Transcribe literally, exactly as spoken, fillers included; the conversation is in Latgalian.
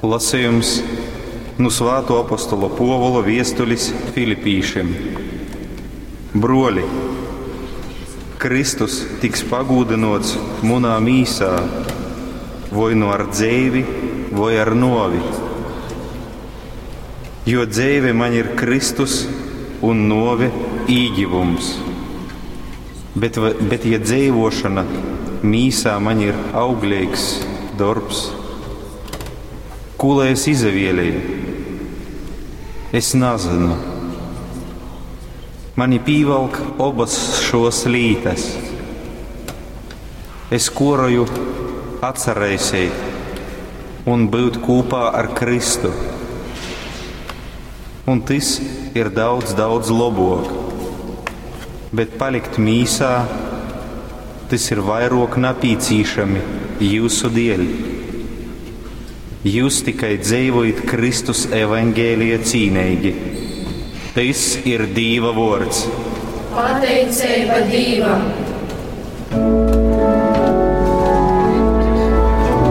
Lasejums nu Svātuo apostola Puovula viestulis Filipīšim. Bruoli, Kristus tiks pagūdynuots munā mīsā, voi nu ar dzeivi, voi ar nuovi. Jo dzeive maņ ir Kristus un nuove īgivums. Bet, bet ja dzeivošana mīsā maņ ir augleigs dorbs, kū lai es izavieleju? Es nazynu. Mani pīvalk obas šos lītas. Es koroju atsaraiseit un būt kūpā ar Kristu. Un tys ir daudz, daudz lobok. Bet palikt mīsā, tys ir vairok napīcīšami jūsu dieļ. Jūs tikai dzeivojit Kristus evaņgelija cīneigi. Tys ir Dīva vuords. Pateiceiba Dīvam!